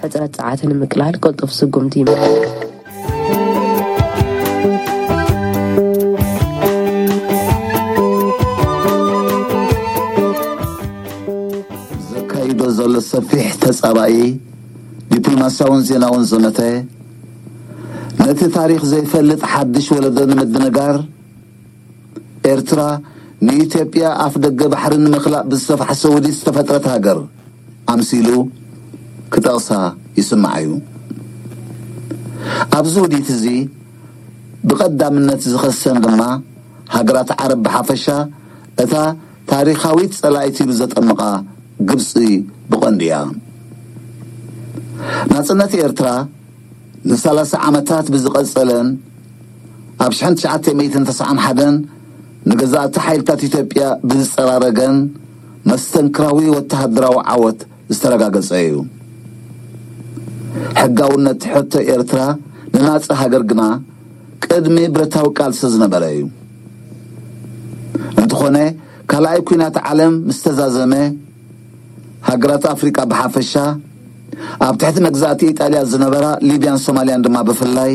ሕጽረት ጸዓት ንምቅላል ቅልጡፍ ስጉምቲ ይምርጽ። ዘካይዶ ዘሎ ሰፊሕ ተጻባኢ ዲፕሎማስያውን ዜናውን ዘመተ፣ ነቲ ታሪኽ ዘይፈልጥ ሓድሽ ወለዶ ንምድንጋር፣ ኤርትራ ንኢትዮጵያ ኣፍ ደገ ባሕሪ ንምኽላእ ብዝተፋሕሰ ውዲት ዝተፈጥረት ሃገር ኣምሲሉ ክጠቕሳ ይስማዕ እዩ። ኣብዚ ውዲት እዚ ብቐዳምነት ዝኸሰን ድማ ሃገራት ዓረብ ብሓፈሻ፣ እታ ታሪኻዊት ጸላኢት ኢሉ ዘጠምቓ ግብጺ ብቐንዱ እያ። ናጽነት ኤርትራ ንሰላሳ ዓመታት ብዝቐጸለን ኣብ ሽሕን ትሽዓተ ሚእትን ተስዓን ሓደን ንገዛእቲ ሓይልታት ኢትዮጵያ ብዝጸራረገን መስተንክራዊ ወተሃደራዊ ዓወት ዝተረጋገጸ እዩ። ሕጋውነት ሕቶ ኤርትራ ንናጻ ሃገር ግና ቅድሚ ብረታዊ ቃልሲ ዝነበረ እዩ። እንተኾነ፣ ካልኣይ ኲናት ዓለም ምስ ተዛዘመ፣ ሃገራት ኣፍሪቃ ብሓፈሻ፣ ኣብ ትሕቲ መግዛእቲ ኢጣልያ ዝነበራ ሊብያን ሶማልያን ድማ ብፍላይ፣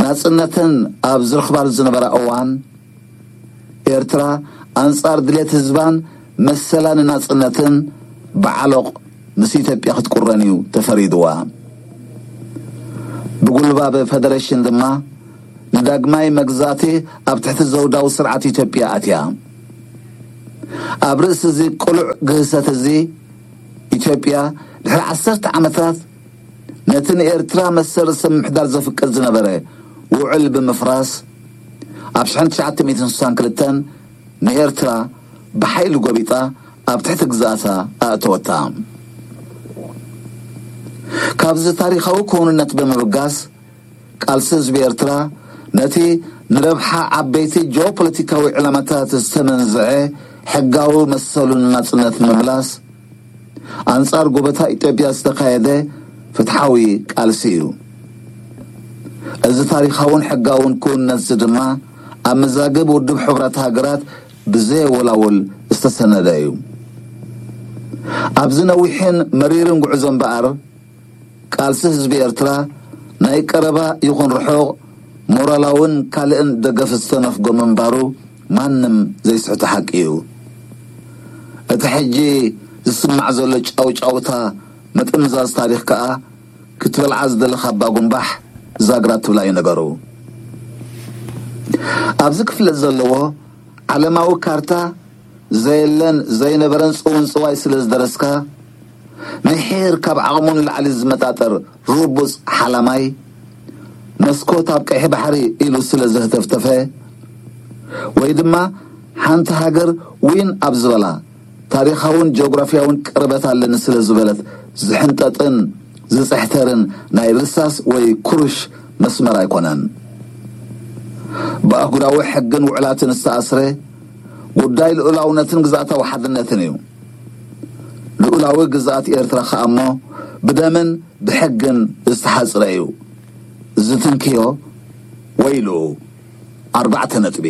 ናጽነተን ኣብ ዝረኽባሉ ዝነበራ እዋን፣ ኤርትራ ኣንጻር ድሌት ህዝባን መሰላን ናጽነትን ብዓሎቕ ምስ ኢትዮጵያ ክትቁረን እዩ ተፈሪድዋ። ብጉልባብ ፈደረሽን ድማ ንዳግማይ መግዛእቲ ኣብ ትሕቲ ዘውዳዊ ስርዓት ኢትዮጵያ ኣትያ። ኣብ ርእሲ እዚ ቅሉዕ ግህሰት እዚ፣ ኢትዮጵያ ድሕሪ ዓሰርተ ዓመታት ነቲ ንኤርትራ መሰል ርእሰ ምምሕዳር ዘፍቅድ ዝነበረ ውዕል ብምፍራስ፣ ኣብ ሽሕን ትሽዓተ ሚእትን ስሳን ክልተን ንኤርትራ ብሓይሊ ጎቢጣ ኣብ ትሕቲ ግዝኣታ ኣእተወታ። ካብዚ ታሪኻዊ ክውንነት ብምብጋስ፣ ቃልሲ ህዝቢ ኤርትራ ነቲ ንረብሓ ዓበይቲ ጂኦፖለቲካዊ ዕላማታት ዝተመንዝዐ ሕጋዊ መሰሉን ናጽነት ንምምላስ፣ ኣንጻር ጎበታ ኢትዮጵያ ዝተኻየደ ፍትሓዊ ቃልሲ እዩ። እዚ ታሪኻውን ሕጋውን ክውንነትዚ ድማ ኣብ መዛግብ ውድብ ሕቡራት ሃገራት ብዘየወላውል ዝተሰነደ እዩ። ኣብዚ ነዊሕን መሪርን ጉዕዞ እምበኣር፣ ቃልሲ ህዝቢ ኤርትራ ናይ ቀረባ ይኹን ርሑቕ ሞራላውን ካልእን ደገፍ ዝተነፍጎ ምንባሩ ማንም ዘይስሕቶ ሓቂ እዩ። እቲ ሕጂ ዝስማዕ ዘሎ ጫውጫውታ ምጥምዛዝ ታሪኽ ከኣ ክትበልዓ ዝደለኻ ኣባ ጉንባሕ ዛግራ ትብላ እዩ ነገሩ። ኣብዚ ክፍለጥ ዘለዎ ዓለማዊ ካርታ ዘየለን ዘይነበረን ጽውንጽዋይ ስለ ዝደረስካ፣ ምሒር ካብ ዓቕሙ ንላዕሊ ዝመጣጠር ርቡጽ ሓላማይ፣ መስኮት ኣብ ቀይሕ ባሕሪ ኢሉ ስለ ዘህተፍተፈ፣ ወይ ድማ ሓንቲ ሃገር ዊን ኣብ ዝበላ ታሪኻውን ጂኦግራፊያውን ቅርበት ኣለኒ ስለ ዝበለት ዝሕንጠጥን ዝጽሕተርን ናይ ርሳስ ወይ ኩሩሽ መስመር ኣይኮነን። ብኣህጉራዊ ሕግን ውዕላትን ዝተኣስረ ጉዳይ ልኡላውነትን ግዝኣታዊ ሓድነትን እዩ። ልኡላዊ ግዝኣት ኤርትራ ከኣ እሞ ብደምን ብሕግን ዝተሓጽረ እዩ። ዝትንክዮ ወይሉ። ኣርባዕተ ነጥቢ።